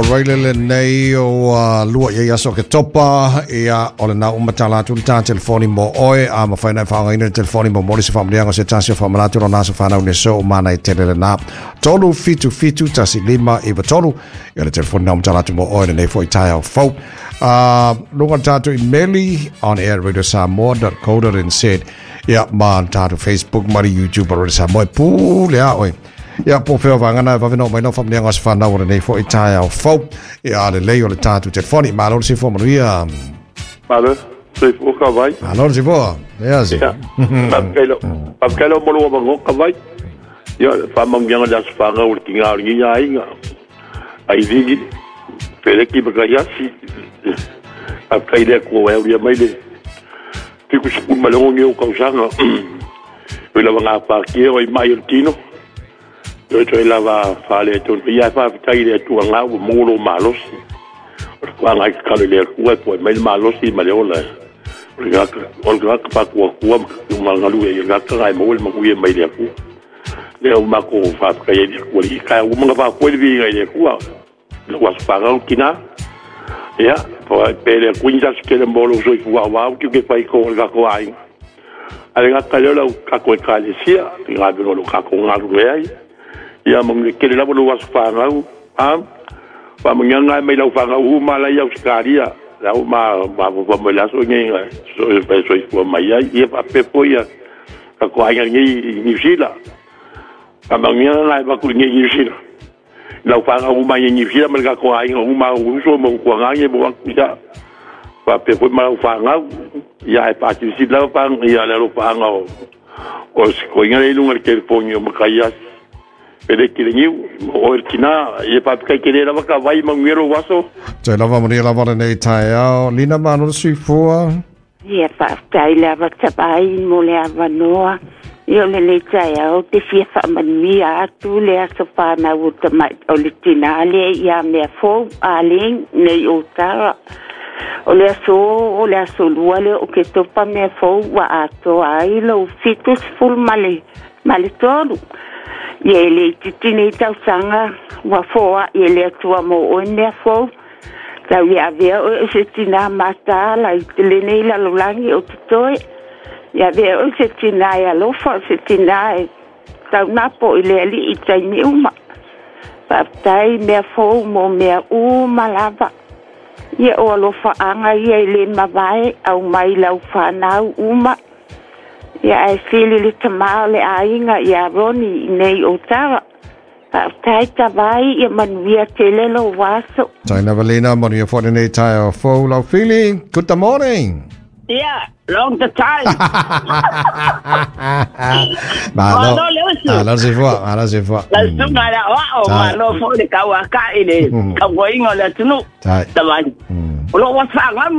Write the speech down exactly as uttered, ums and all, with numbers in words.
Raile lenei o lua ia aso ke topa ia o le nau matala atu le tā telefoni mo oe a mawhai nai whaangaina le telefoni mo mori se whaamanianga o se tasi o whaamanatu o nasa whanau ne so o mana i tele le nā tolu fitu fitu tasi lima iwa tolu ia le telefoni nau matala atu mo oe lenei fo i tai au fau. Uh, lunga tātou i meli on air radio samoa dot co dot n z ia ma tātou Facebook ma YouTube Radio Samoa pule a oe. Ia po feo vangana vaveno mai no family ngos fa na nei fo itai au fo ia le lei o le tātou telefoni malo se fo manuia malo se fo ka vai malo se fo ia se pa pa kelo mo lo mo ka vai ia fa mangianga da fa nga o tinga o ngi ai nga ai vigi pele ki ba ya si a kai le ko e ia mai le ti ku ku malo ngi o ka sanga o la nga pa ki o mai o tino Toi toi lava fale tonu ia fa tai le tu nga o molo malosi. O kwa nga ka le ku e po mai malosi ma le ola. O ga o ga pa ku ku ma nga lu e ga ka ai mo le mo ye mai le ku. Le o ma ko fa ka ye ku li ka o ma fa ku le vi ngai le ku. Le wa fa ga kina. Ia po pe le ku nja ke le molo so ku wa wa ku ke fai ko ga ko ai. Ale ga ka le la ka ko ka le sia, ga be lo ka ko nga lu ai. Ia mong ke le lava lo wasfangau a pa mong ngai mai lau fangau u ma la ia Australia la u ma ma ma ma la so ngai so so so ko mai ia ia pa pe po ia ka ko ai ngai New Zealand pa mong ngai ba ku ngai New Zealand lau fangau u ma ngai New Zealand ma ka ko ai u ma u so mo ko ngai bo ia pa pe po ma lau fangau ia e pa ti si la pa ia la lo fangau o ko ngai lu ngai ke po ngai ma ka ia Pele kile o kina e pa kai kele lava ka vai mangero waso te lava mo lava nei tai ao lina mano sifua ia pa tai lava tabai mo le avanoa ia le le tai ao te fia fa mania atu le aso pa na o tama o le tina le ia me fo ale nei o tara o le aso o le aso lua le o ke topa me fo wa ato ai lo fitus full male male tolu Ia le titine tau sanga wa foa ia le atua mo o mea fou. Tau ia avea o se tina mataala i te lenei lalolagi o totoe. Ia avea o se tina e alofa o se tina e taunapo i le alii i taimi uma. Faafetai mea fou mo mea uma lava. Ia o alofaaga ia i le mavae au mai lau fanau uma. Ia ai fili le tamā o le aiga ia Roni i nei o tara. Faafetai tavai ia manuia tele lo waso. Taina Valina, manuia fo nei tai o fou lau fili. Good morning. Yeah, long the time. Malo. Malo se fua, malo se fua. La sunga la wa o malo fo le kawa ka ile ka goinga le tunu. Tai. Tavai. O lo wa fa ngam